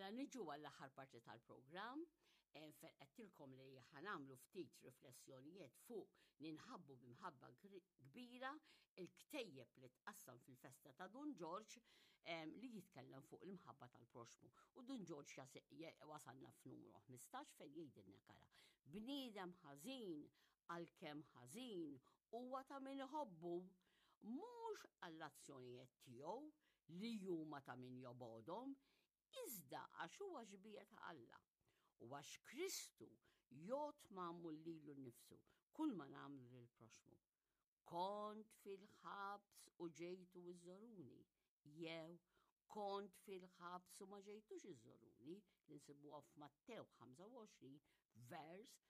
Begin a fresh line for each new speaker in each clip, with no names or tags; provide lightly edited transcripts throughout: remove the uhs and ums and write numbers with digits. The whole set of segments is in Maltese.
Mela niġu għall-aħħar parti tal-programm, eh, fejn qedtilkom li ħanamlu ftit riflessjonijiet fuq ninħabbu b'imħabba kbira il-ktejjeb li tqassam fil-festa ta' Dun Ġorġ eh, li jitkellem fuq l-imħabba tal-proxmu. U Dun Ġorġ wasalna f'numru 15 fejn jgħidilna kara. Bniedem ħażin għalkemm ħażin huwa ta' min iħobbu mhux għall-azzjonijiet tiegħu li huma ta' min jobgħodhom, iżda għax huwa xbieha ta' Alla, u għax Kristu jgħodd magħmul lilu nnifsu kulma nagħmlu lill-proxxmu. Kont fil-ħabs u ġejtu iżżoruni, jew kont fil-ħabs u ma ġejtux iżżoruni, li nsibuha f'Mattew 25 vers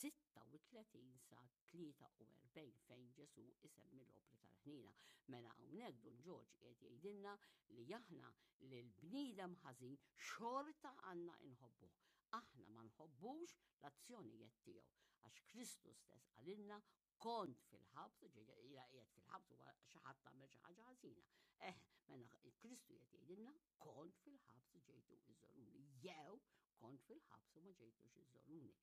36 sa 43 fejn Ġesù isemmi l-opri tal-ħnina. Mela hawnhekk Dun Ġorġ qiegħed jgħidilna li aħna li l-bniedem ħażin xorta għandna inħobbuh. Aħna ma nħobbux l-azzjonijiet tiegħu għax Kristu stess qalilna kont fil-ħabs, ġejja qiegħed fil-ħabs huwa xi ħadd tagħmel xi ħaġa ħażina. Eh, mela Kristu qed jgħidilna kont fil-ħabs ġejtu iżoruni, jew kont fil-ħabs u ma ġejtux iżoruni.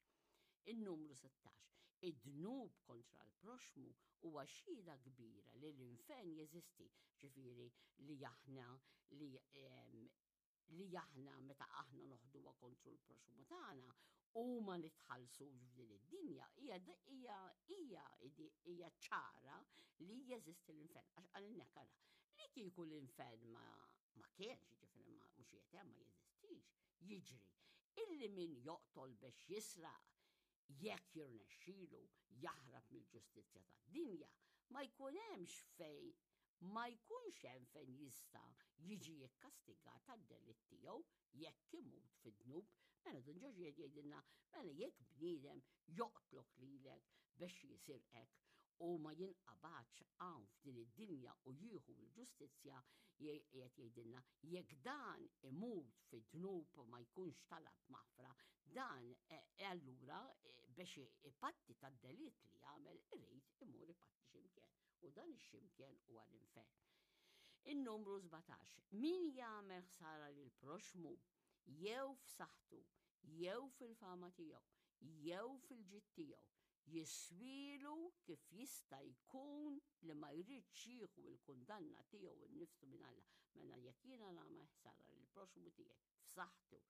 Il-numru 16. Id-dnub kontra l-proxmu huwa xhieda kbira li l-infern jeżisti, ġifieri li aħna li li aħna meta aħna noħduha kontru l-proxmu tagħna u ma nitħallsux f'din id-dinja hija hija hija hija ċara li jeżisti l-infern. Għax qalilna kara li kieku l-infern ma ma kienx, ġifieri ma mhux qiegħed hemm ma jeżistix, jiġri illi min joqtol biex jisraq jekk jirnexxilu jaħrab mill-ġustizzja tad-dinja, ma jkun hemmx fejn ma jkunx hemm fejn jista' jiġi kkastigat għad-delitt tiegħu jekk imut fid-dnub. Mela Dun Ġorġ qiegħed jgħidilna, mela jekk bniedem joqtlok lilek biex jisirqek u ma jinqabadx hawn f'din id-dinja u jieħu l-ġustizzja, qiegħed jgħidilna jekk dan imut fid-dnub u ma jkunx talab maħfra, dan eh, allura eh, biex ipatti tad-delitt li jagħmel irid imur ipatti x'imkien u dan ix-ximkien huwa l-infern. In-numru 17. Min jagħmel ħsara lil proxmu jew f'saħħtu, jew fil-fama tiegħu, jew fil-ġid tiegħu, jiswilu kif jista' jkun li ma jridx jieħu l-kundanna tiegħu nnifsu minn Alla. Mela jekk jiena nagħmel ħsara lil proxmu tiegħi f'saħħtu,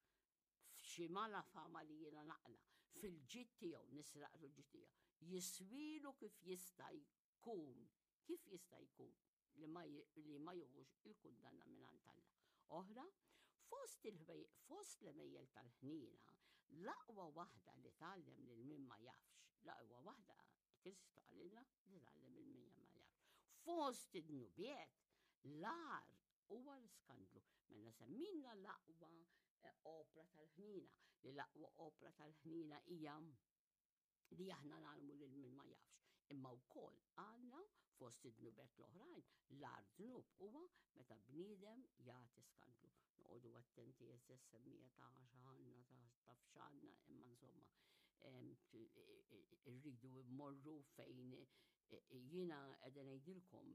f'xi mala fama li jiena naqla, fil-ġid tiegħu nisraqlu l-ġid tiegħu, jiswilu kif jista' jkun, kif jista' jkun li ma, li ma juhux il-kundanna minn Alla. Oħra, fost fost l-emejjel tal-ħnina, l-aqwa waħda li tgħallem lil min ma jafx, l-aqwa waħda Kristu qalilna li tgħallem lil min ma jafx. Fost id-dnubiet, l-agħar huwa l-iskandlu. Mela semmina l-aqwa eh, opra tal-ħnina, li l-aqwa opra tal-ħnina hija li aħna nagħlmu lil min ma jafx. Imma wkoll għandna fost id-dnubet l-oħrajn, l-agħar dnub huwa meta bniedem jagħti skandlu. Noqogħdu attenti eżess semmija ta' x'għandna ta' f'x'għandna, imma insomma irridu mmorru fejn jiena qegħda ngħidilkom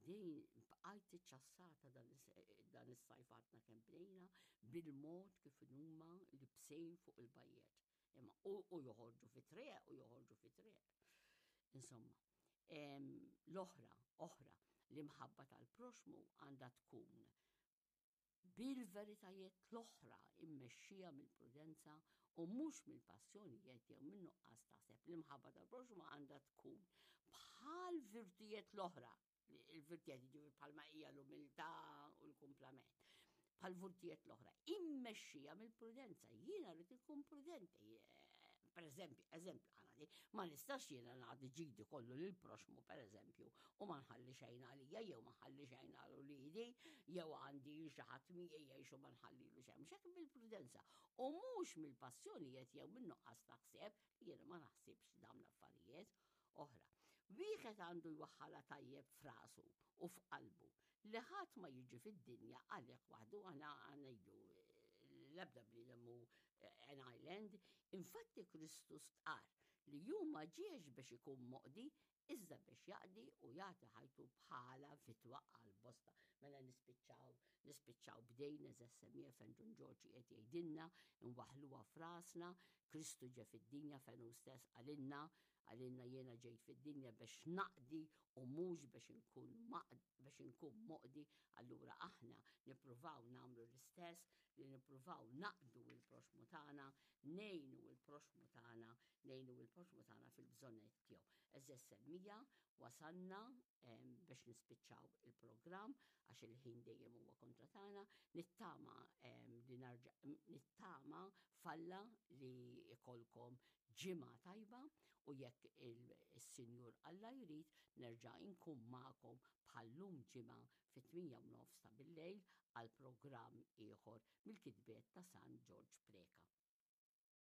din bqajt iċċassata dan is-sajf għadna kemm bdejna bil-mod kif huma libsejn fuq il-bajjet. Imma u joħorġu fi triq u joħorġu fi triq. Insomma, l-oħra, oħra, l-imħabba tal-proxmu għandha tkun bil-veritajiet l-oħra immexxija mill-prudenza u mhux mill-passjonijiet jew minn nuqqas taħseb. L-imħabba tal-proxmu għandha tkun bħal virtujiet l-oħra il-virtijiet ġifieri bħalma hija l-umiltà u l-kumplament. Bħal virtijiet l-oħra, immexxija mill-prudenza. Jiena rrid inkun prudenti. Eh, per eżempju, eżempju, għana ma nistax jiena nagħti ġidi kollu lil proxmu, per eżempju, u ma nħalli xejn għalija, jew ma nħalli xejn għal uliedi, jew għandi xi ħadd miegħi jgħixu ma nħallilu xejn. Mhux hekk bil-prudenza. U mhux mill-passjonijiet jew min-nuqqas ta' ħsieb, jiena ma naħsibx dawn l-affarijiet oħra. Wieħed għandu jwaħħalha tajjeb f'rasu u f'qalbu li ħadd ma jiġi fid-dinja għalih waħdu aħna ngħidu l-ebda bniedem hu an island. Infatti Kristu stqar li hu ma ġiex biex ikun moqdi. iżda biex jaqdi u jagħti ħajtu bħala fidwa għal bosta. Mela nispiċċaw, nispiċċaw b'dejn eżess semmiegħa fejn Dun Ġorġ qiegħed jgħidilna, inwaħħluha f'rasna, Kristu ġie fid-dinja fejn hu stess qalilna, qalilna jiena ġejt fid-dinja biex naqdi u mhux biex inkun biex inkun moqdi, allura aħna nippruvaw nagħmlu l-istess li nippruvaw naqdu l-proxxmu tagħna, ngħinu l-proxxmu tagħna, ngħinu l-proxxmu tagħna fil-bżonnijiet tiegħu. Għeżież semmiegħa, wasalna biex nispiċċaw il-programm għax il-ħin dejjem huwa kontra tagħna, nittama li narġa' nittama f'Alla li jkollkom ġimgħa tajba u jekk is-Sinjur Alla jrid nerġa' nkun magħkom bħal-lum ġimgħa fit-8 u nofs ta' billejl għal programm ieħor mill-kitbiet ta' San Ġorġ Preca.